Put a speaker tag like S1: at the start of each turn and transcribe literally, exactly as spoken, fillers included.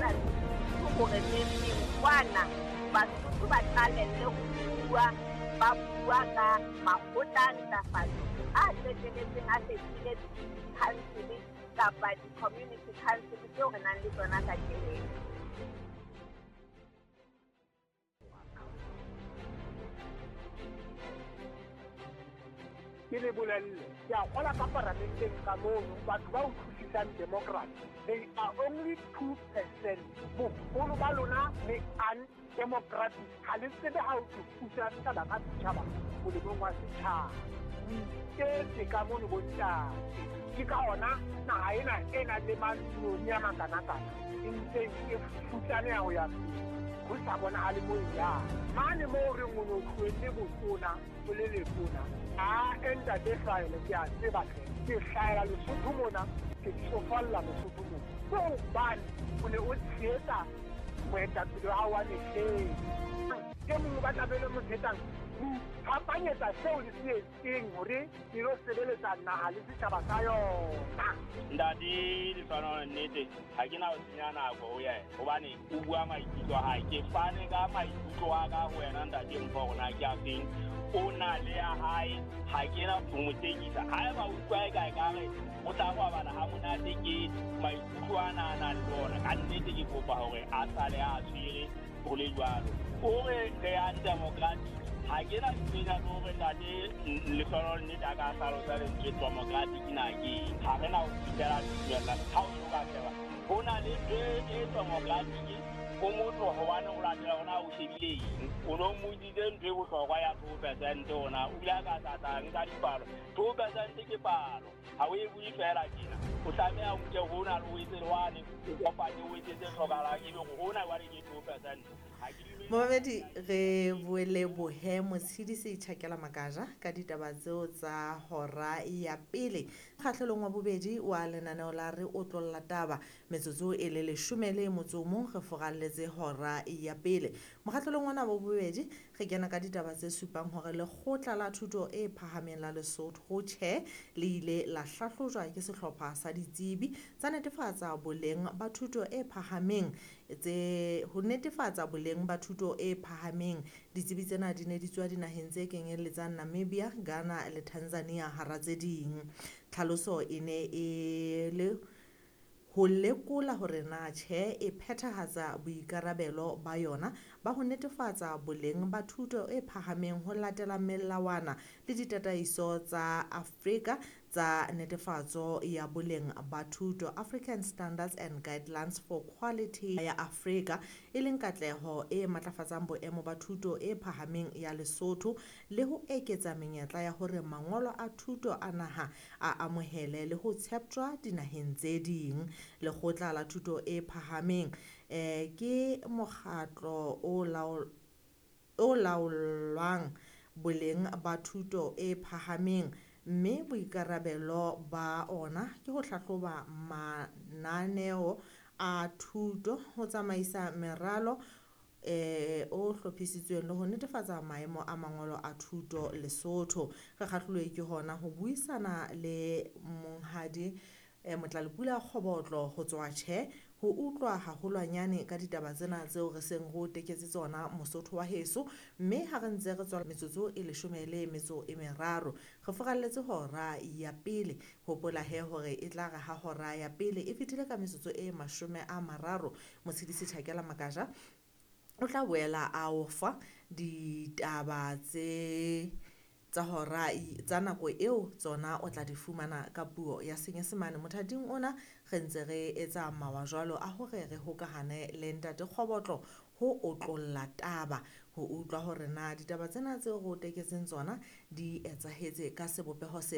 S1: kgothaletsa hore metseng kwana Basotho ba qalelle ho bua, ba bua ka makgotla a ntlafatso a qetelletseng a fetohile di-council kapa di-community council tseo re nang le tsona kajeno.
S2: Ke le bolelle, ke a kgola ka paramenteng ka mono, batho ba utlwisisang democracy, they are only two percent. Boholo ba lona le undemocratic, ha le tsebe ha ho thusa setjhaba ka setjhaba molemong wa setjhaba. O iketse ka mono bontate. Ke ka hona naha ena e nang le mantsinyane a makanakana e ntseng e futsaneha ho ya pele, ho sa bonahale moo e yang. Mane moo re reng o no tlohelle botona o le letona, a ntate Hlahele ke a tseba hle, ke hlahela Lesotho mona, ke tsofalla Lesotho mona. Ke hobane o ne o tshehetsa moetapele wa hao wa mehleng. E mong o batla be le mo tshehetsang, ho iphapanyetsa seo le se etseng hore le lo sebeletsa naha le setjhaba sa yona.
S3: Ntate Lehlohonolo, nnete ha ke na ho senya nako ho yena hobane o bua maikutlo a hae. Ke fane ka maikutlo a ka ho wena ntate Mpho hore na ke a feng. O na le ya hae, ha ke na ho mo tekisa. Haeba o utlwa eka ekare o tla robala ha monate ke maikutlo ana a nang le ona, ka nnete ke kopa hore a sale a tshwere ho le jwalo. O re re undemocratic, ha ke na ditsenya tsa hore ntate Lehlohonolo nnete a ka hlalosa lentswe democratic na ke eng. Ha re na ho fihlela tumellano. Ha o so ka sheba, ho na le ntho e democratic o motho hobane o latela hore na o shebile eng. O no mmotsitse ntho e bohlokwa ya two percent hona, o ile a ka tlatla nka dipalo. Two percent ke palo, ha o e bue feela tjena. O tlameha o nke hona le o etse le wane, o kopanye o etse tse hlokahalang, ebe hore hona jwale ke two percent.
S4: Momamedi, re boele bohe Motshidisi Tjhakela Makaja ka ditaba tseo tsa hora ya pele. Kgahlelong wa bobedi wa lenaneo la Re Otlolla Taba, metsotso e le leshome le motso o mong re foralletse hora ya pele. Mokgahlelong ona wa bobedi re kena ka ditaba tse supang hore lekgotla la thuto e phahameng la Lesotho tjhe le ile la hlahlojwa ke sehlopha sa ditsebi tsa netefatsa boleng ba thuto e phahameng tse ho netefatsa boleng ba thuto e phahameng. Ditsebi tsena di ne di tswa dinaheng tse kenyelletsang Namibia, Ghana le Tanzania hara tse ding. Tlhaloso e ne e le ho lekola hore na tjhe e phethahatsa boikarabelo ba yona ba ho netefatsa boleng ba thuto e phahameng ho latela melawana le ditataiso tsa Afrika tsa netefatso ya boleng ba thuto, African Standards and Guidelines for Quality ya Afrika, e leng katleho e matlafatsang boemo ba thuto e phahameng ya Lesotho le ho eketsa menyetla ya hore mangolo a thuto a naha a amohele le ho tsheptjwa dinaheng tse ding. Lekgotla la thuto e phahameng eh ke mokgatlo o laol o laolwang boleng ba thuto e phahameng, mme boikarabelo ba ona ke ho hlahloba mananeo a thuto, ho tsamaisa meralo eh o hlophisitsweng le ho netefatsa maemo a mangolo a thuto Lesotho. Re kgahlilwe ke hona ho buisana le monghadi eh, Motlalepula Kgobotlo ho tswa tjhe ho utlwa haholwanyane ka ditaba tsena tseo re seng re o teketse tsona Mosotho wa heso. Mme ha re ntse re tswela metsotso e leshome le metso e meraro, re foralletse hora ya pele. Hopola he hore e tla re ha hora ya pele e fetile ka metsotso e mashome a mararo, Motshidisi Tjhakela Makaja o tla boela a o fa ditaba tse tsa hora tsa nako eo tsona o tla di fumana ka puo ya Senyesemane. Mothating ona re ntse re etsa mawa jwalo a hore re hokahane le ntate Kgobotlo ho otlolla taba, ho utlwa hore na ditaba tsena tseo re o teketseng tsona di etsahetse ka sebopeho se